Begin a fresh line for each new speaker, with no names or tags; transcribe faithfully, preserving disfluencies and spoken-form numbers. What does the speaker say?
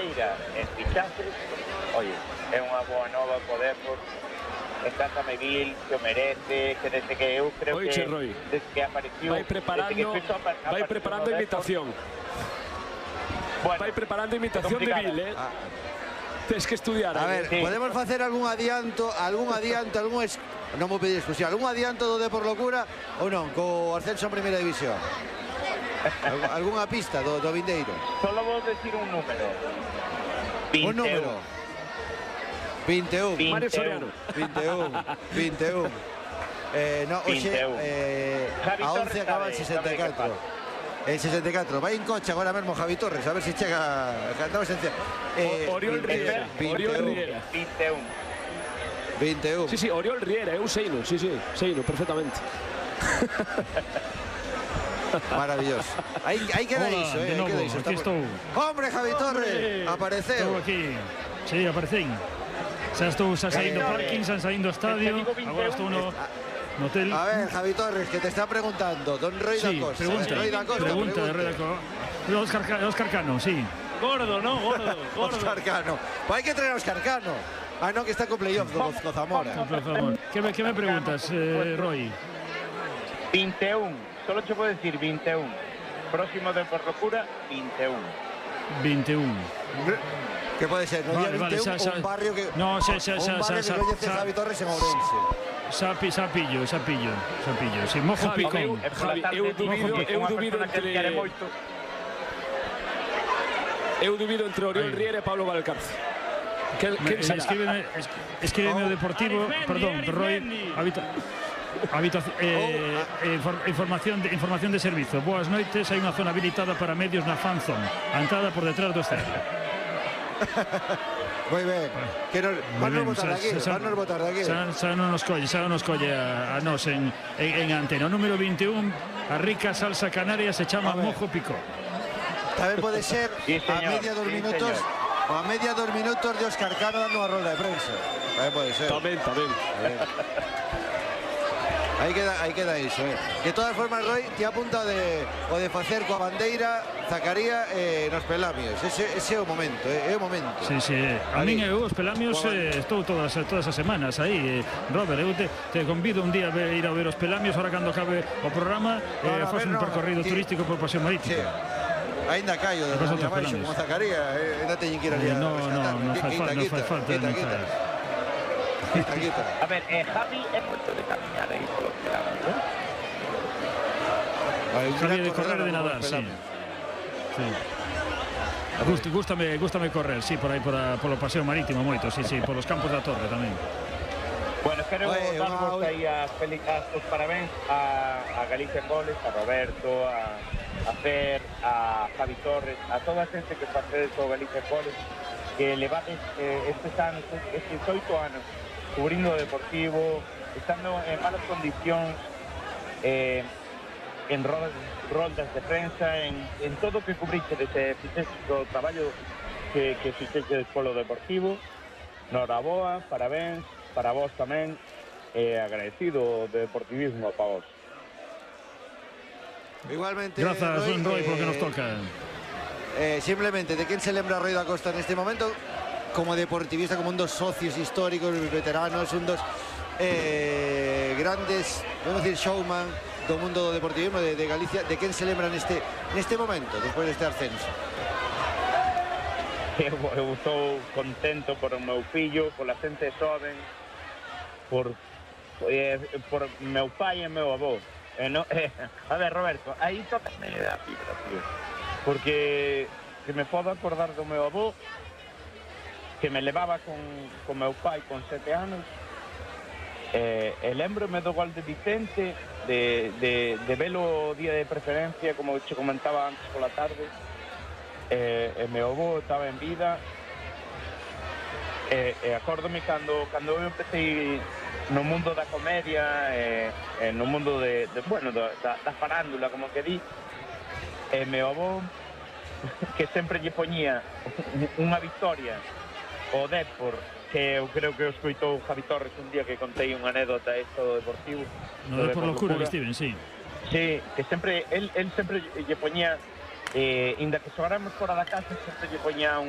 feira en fichajes, oye, é unha boa nova poder por encántame Vil, que o merece, que desde que eu creo
Oiche,
que
Roy,
desde que apareció,
vai preparando,
desde que Suizo apa-
vai
apareció
preparando
no
imitación.
Depor, bueno,
Vai preparando imitación de Vil, eh?
Ah.
Tens que estudiar.
A
eh?
ver,
Sí.
podemos facer algún adianto, algún adianto, algún es... non vou pedir exclusión, algún adianto do Depor Locura ou non, co ascenso en primeira división? Algu- Algunha pista do, do vindeiro?
solo vou decir un número.
Un número. vinte e un.
vinte e un.
Mario Soriano.
vinte e un. vinte e un. Eh, no, oxe,
vinte e un.
eh,
Javi
a once
Torres
acaba en
sabe-
sesenta e catro.
sabe
En sesenta e catro. Vai en coche agora mesmo Javi Torres, a ver se chega... Cantamos en... Eh,
O- Oriol Riera. Oriol
vinte e un.
Riera.
vinte e un.
vinte e un.
Sí, sí, Oriol Riera, eu seino, sí, sí, seino, perfectamente.
Maravilloso. Aí, aí queda
Hola,
iso, eh.
de
aí
novo,
queda iso.
aquí
Estamos-
estou.
Hombre, Javi Torres,
Estou
apareceu.
aquí. Sí, aparecín. Xa estou xa saindo
Eh,
parking, xa saindo estadio.
digo vinte e un,
Agora estou no, no hotel.
A ver, Javi Torres, que te está preguntando. Don Roy da
Sí,
Costa.
pregunta.
Roy da Costa,
Pregunta de Reda Co. Oscar, Ca- Oscar Cano, sí.
Gordo, no, gordo, gordo.
Oscar Cano. Pues hai que traer a Oscar Cano. Ah, non, que está con playoff do Gozco Zamora.
Por favor. ¿Qué me, qué me preguntas, eh, Roy?
vinte e un. Solo te puedo decir vinte e un. Próximo de por locura, vinte e un.
vinte e un.
Que pode ser, no
Vale,
día
vale,
vinte e un,
xa, xa.
un barrio que...
No, xa, xa,
un
xa,
barrio
xa,
que coñece
xa.
Javi Torres en Ourense.
Xa, pi- xa pillo, xa pillo, xa pillo. Sí, mojo
Javi,
picón.
eu-
E pola
Javi,
tarde
eu
digo
dubido-
que é
eu
unha
dubido
persona que
entre-
quere moito.
Eu dubido entre Oriol
Aí.
Riera e Pablo Valcarce. Que,
Me-
que será?
Escríbeme, es- escríbeme o Deportivo, perdón, Roy, habita, habita, eh, eh, infor- información, de, información de servizo. Boas noites, hai unha zona habilitada para medios na fanzone, a entrada por detrás do estadio.
Moi ben. Que nos,
Moi
van nos
ben,
botar
xa-
de aquí,
xa-
van nos botar de aquí.
Xa, xa non nos colle, xa non nos colle a, a nos en, en, en antena. O número vinte e un, a rica salsa canaria se chama
A ver.
mojo picó.
Tamén pode ser
Sí,
a
señor,
media dos
sí,
minutos
señor.
o a media dos minutos de Oscar Cano dando unha rolda de prensa. Tamén pode ser.
Tamén, tamén.
Aí queda, aí queda iso, eh. De todas formas, Roy, te apunta de, o de facer coa bandeira Zacaría eh, nos pelamios. Ese, ese é o momento, eh, é o momento.
Sí, sí. A
Ali.
min eu os pelamios
Juan.
eh, estou todas todas as semanas aí, eh, Robert, eu te, te convido un día a ver, ir a ver os pelamios ahora cando acabe o programa,
No,
eh,
no, a
faz
ver,
un
no,
percorrido
ti-
turístico por Paseo
Sí.
Marítimo.
Ainda callo de
Depois
Rania
outros
Baixo
pelamios.
como Zacaría, eh, ainda teñen que ir ali
Eh,
a
no,
rescatar.
no, no fai
Quita,
fa- no
quita,
fai falta
quita,
de
quita.
nada.
Quita, quita.
A ver, eh, Javi é moito de camiñar aí polo que daba, ¿no?
Vai, un
Javi
gran
de correr
corredor
de
como
nadar,
os
sí.
pelamios.
Sí. Gust, gústame, gústame correr, sí, por aí por a, polo Paseo Marítimo moito, sí, sí, polos campos da Torre tamén.
Bueno, quero
Oye,
darvos
wow.
aí as, feliz, as os parabéns a, a Galicia en Goles, a Roberto, a, a Fer, a Javi Torres, a toda a xente que facedes o Galicia en Goles, que levades eh, estes anos, estes oito anos, cubrindo o Deportivo, estando en malas condicións, eh, en rodas, roldas de prensa, en, en todo o que cubriche desde fixeches o traballo que, que fixeches polo Deportivo. Noraboa, parabéns, para vos tamén, eh, agradecido de deportivismo para vos.
Igualmente,
Grazas, Roy, Roy, porque nos
eh,
toca.
Eh, simplemente, ¿de quién se lembra Roy da Costa en este momento? Como deportivista, como un dos socios históricos, veteranos, un dos eh, grandes, podemos decir, showman do mundo do deportivismo de, de Galicia. ¿De quién se lembra neste, neste momento, despois deste ascenso?
Eu, eu estou contento por o meu fillo, pola xente xoven, por, eh, por meu pai e meu avó. Eh, no, eh, a ver, Roberto, aí tócame a fibra, tío. Porque que me podo acordar do meu avó, que me levaba con, con meu pai con sete anos, eh, e lembrome do gol de Vicente, de, de, de velo o día de preferencia, como che comentaba antes pola tarde. Eh, e meu avó estaba en vida, e, e acórdome cando, cando eu empecé no mundo da comedia, e, e no mundo de, de bueno, da, da farándula, como que di, e meu avó que sempre lle poñía unha victoria o Depor, que eu creo que o escoitou Javi Torres un día que contei unha anécdota esta do Deportivo.
No de por locura, Steven, sí.
Sí, que sempre, él, él sempre lle poñía, eh, inda que xogáramos fora da casa, sempre lle poñía un